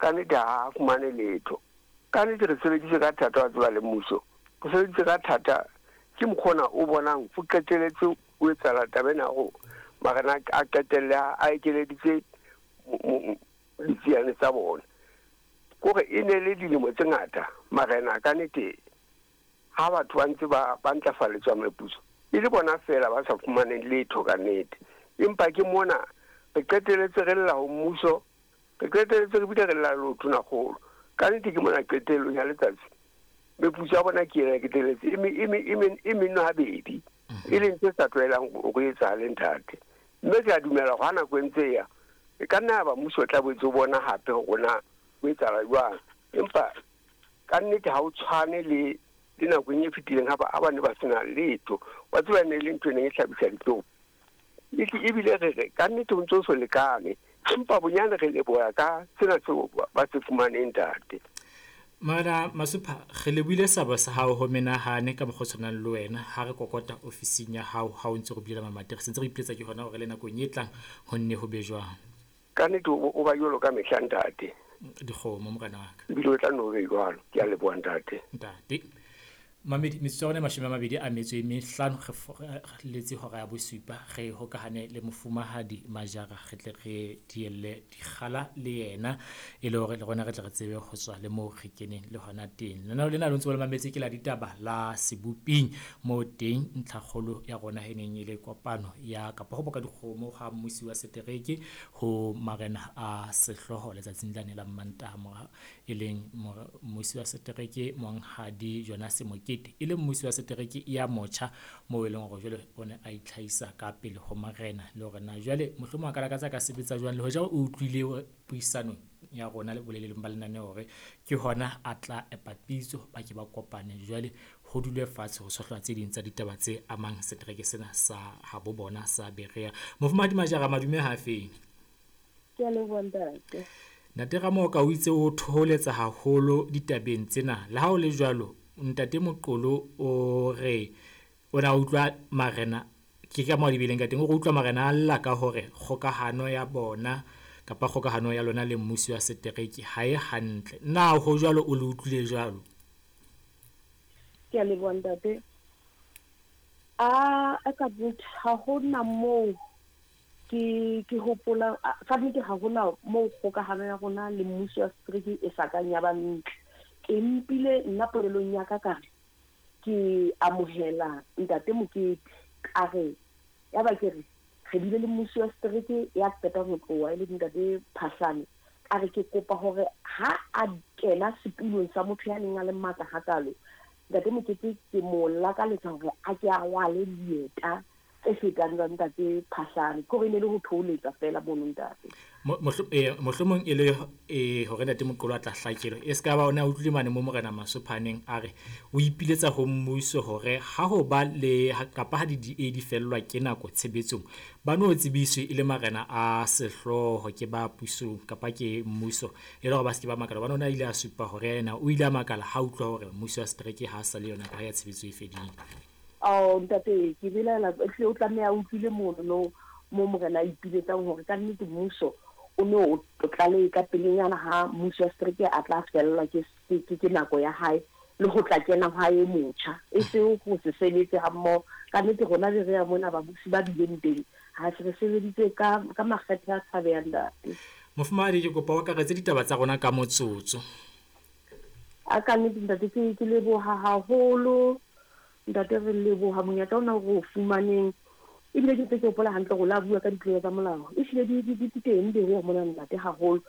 Ka nnete ha a fumane letho. Ka nnete re sebeditse ka thata wa tseba le mmuso. Re sebeditse ka thata ke mokgwa ona o bonang o qeteletse o etsahala taba ena ya hore marena a qetelle a ekeleditse ditsiane tsa bona. Kore e ne le dilemo tse ngata marena ka nnete ha batho ba ntse ba ba ntlafaletswa meputso e le bona feela ba sa fumaneng letho ka nnete. Empa ke mona re qeteletse re lla ho mmuso, re qeteletse re bile re lla le ho tonakgolo. Ka nnete ke mona qetellong ya letsatsi meputso ya bona ke ena e qeteletse e e e e meno habedi, e leng tse sa tlwaelang hore e etsahale ntate. Mme ke a dumela hore ha nako e ntse e ya, e ka nna ya ba mmuso o tla boetse o bona hape hore na ho etsahala jwang. Empa ka nnete ha o tshwane le le nakong e fetileng ha ba ha ba ne ba sena letho. Wa tseba e ne e le ntho e neng e hlabisa dihlong. Ebile re re ka nnete ho ntso so lekane, empa bonyane re leboha ka sena seo ba se fumaneng ntate. Morena Masupha, re lebohile seabo sa hao ho menahane ka mokgwa o tshwanang le wena ha re kokota ofising ya hao ha o ntse re bulela mamati. Re sentse re ipiletsa ke hona hore le nakong e tlang ho nne ho be jwang. Ka nnete o ba jwalo ka mehla ntate. Dikgomo morena wa ka. Ebile o tla nne o be jwalo. Ke a leboha ntate. Ntate. Mamedi, metsotso ya rona e 25 re letse hora ya bosupa re hokahane le mofumahadi Majara re tle re dielle dikgala le yena e le hore le rona re tle re tsebe ho tswa le moo re keneng le hona teng. Lenaneo lena lo ntse le mametse ke la ditaba la Seboping moo teng ntlhakgolo ya rona e neng e le kopano ya kapa ho boka dikgomo ha mmusi wa setereke ho marena a sehlooho letsatsing lane la Mmantaha mora e leng mmusi wa setereke Monghadi Jonas Mokete e le mmusi wa setereke ya motjha moo e leng hore jwale o ne a itlhahisa ka pele ho marena le hore na jwale mohlomong a ka lakatsa ka sebetsa jwang le hoja o utlwile puisanong ya rona le boleleng ba lenaneo hore ke hona a tla epa pitso ba ke ba kopane jwale ho dulwe fatshe ho tshohlwa tse ding tsa ditaba tse amang setereke sena sa habo bona sa Berea. Mofumahadi Majara, madume ha feng? Ke a leboha ntate. Ntate Ramoka o itse o thoholetsa haholo ditabeng tsena. Le ha ho le jwalo, Ntate Moqolo o re o ne a utlwa marena, ke ka moo a di beileng ka teng, o re utlwa marena a lla ka hore kgokahano ya bona kapa kgokahano ya lona le mmusi wa setereke ha e hantle. Na ho jwalo o le utlwile jwalo? Ke a leboha ntate. A ka nnete ha hona moo Ke, ke hopola, ka nnete ha hona moo kgokahano ya rona le mmuso wa setereke e sa kang ya ba ntle. Ke mpile nna polelong ya ka ka re, ke amohela Ntate Mokete, ka re, ya ba ke re, re bile le mmusi wa setereke ya qetang ho tloha e leng Ntate Phahlane, ka re ke kopa hore ha a kena setulong sa motho ya neng a le matla hakalo, Ntate Mokete ke mo lakaletsa hore a ke a rwale dieta tse fetang tsa Ntate Phahlane. Ke hore e ne e le ho thoholetsa feela mono Ntate. Mohlomong e le hore Ntate Moqolo a tla hlakelwa. E se ka ba o ne a utlwile mane mo Morena Masopha a neng a re o ipiletsa ho mmuso hore ha ho ba le kapa ha di-DA di fellwa ke nako tshebetsong, ba no tsebiswe e le marena a sehlooho ke ba pusong kapa ke mmuso e le hore ba se ke ba makala. Hobane o ne a ile a supa hore yena o ile a makala ha utlwa hore mmuso wa setereke ha sa le yona nako ha ya tshebetso e fedile. Ao, ntate, ke belaela ehlile o tlameha a utlwile mono no moo morena a ipiletsang hore ka nnete mmuso o ne o tlalehe ka pelenyana ha mmuso wa setereke a tla fellwa ke, ke, ke nako ya hae le ho tla kena hwa e motjha, e se ho se sebetse ha mmoho. Ka nnete rona Berea mona babusi ba bileng teng, ha se re sebeditse ka, ka makgethe a tshabehang, ntate. Mofumahadi, ke kopa o akaretse ditaba tsa rona ka motsotso. A ka nnete ntate ke, ke leboha haholo. Ntate re leboha monyetla ona o re o fumaneng. Ebile ke ntse ke hopola hantle hore o la bua ka ditlolo tsa molao. Ehlile di, di, di teng Berea mona ntate haholo.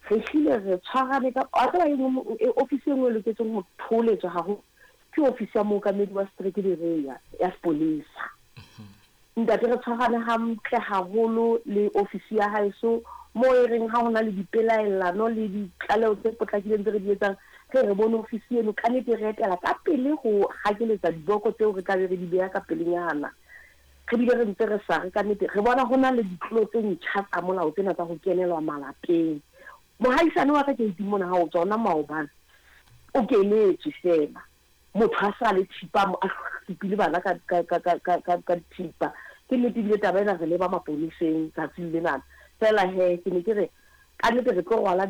Re hlile re tshwarane ka, wa tseba e nngwe ofisi e nngwe e loketseng ho thoholetswa haholo ke ofisi ya mookamedi wa setereke Berea ya sepolesa. Ntate re tshwarane hantle haholo le ofisi ya haeso moo e reng ha hona le dipelaellano le ditlaleho tse potlakileng tse re di etsang, re re bone ofisi eno ka nnete e re etela ka pele ho hakeletsa diboko tseo re tla be re di beha ka pelenyana. Re bile re ntse re sa re ka nnete re bona hona le ditlolo tse ntjha tsa molao tsena tsa ho kenelwa malapeng. Mohaisane wa ka keiting mona ha o tswa ona maobane o kenetswe feela. Motho a sa le thipa a hlupile bana ka ka ka ka ka ka ka dithipa. Ke nnete ebile taba ena re leba maponeseng tsatsing lenana. Feela he ke ne ke re ka nnete re tlo rwala.